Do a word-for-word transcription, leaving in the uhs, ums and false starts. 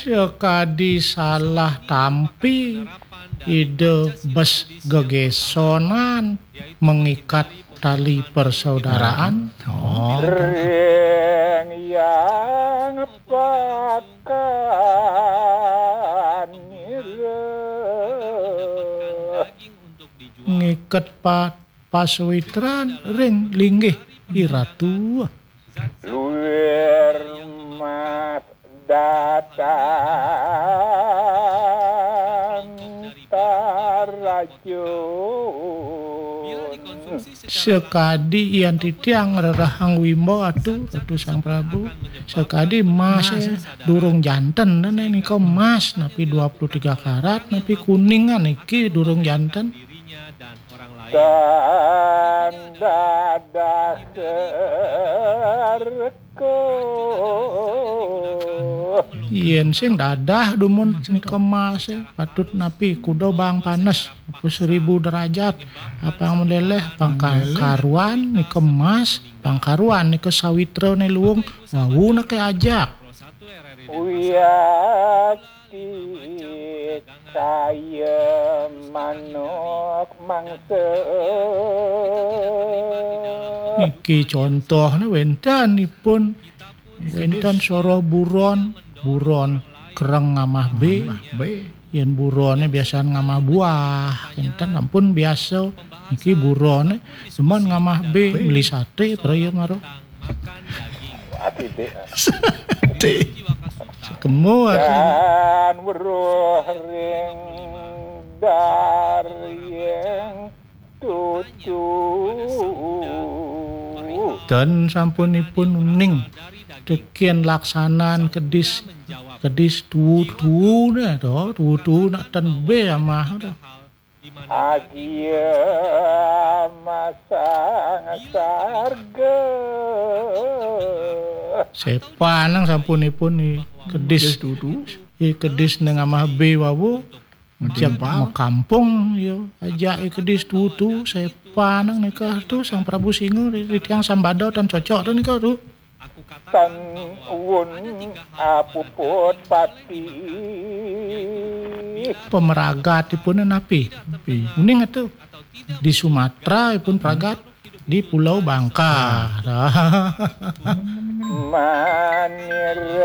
Sakadi salah tampi, Ida bes gegesonan mengikat tali persaudaraan. Oh. Ring yang pakan nira. Ngiket pa-, pasawitran ring linggih iratu. Luir mas datang tarajun. Sakadi yan titiang ngrerehang wimba atu, Ratu Sang Prabu. Sakadi mas, eh, durung janten, né nika mas, napi dua puluh tiga karat, napi kuningan niki durung janten. Tan dadah serko. Yén sing dadah dumun nika mas, eh, patut napi kuda bang panes, apa seribu derajat. Apang meleleh, pang ka-, karuan nika mas, pang karuan nika sawitra né luung, wau nake ajak. Uyat Tit kaya manuk mangsa. Niki contohné wénten ipun. Wénten soroh buron, buron kereng ngamah bé. Ngamah bé. Yén buroné biasan ngamah buah, wénten ampun biasa. Niki buroné cuman ngamah bé, beli saté, praya mara. Ati, Dik. Ati. Sekemu ati. Dan weruh ring daryeng tutu. Dan sampunipun uning tekén laksanan kedis, kedis tutu né to, tutu nak ten bé amah to. Agia masang sarga. Sepanang sampunipun i kedis. Kedis tutu. I kedis ning amah bé wau. Cek makampung, ya. Ajak i kedis tutu, sepanang nika tu Sang Prabu Singa di, di tiang sambada tan cocok tu nika tu. Tan wun apuput pati. Pemeragatipun napi? Napi? Uning atu. Di Sumatera ipun peragat, di Pulau Bangka. Manira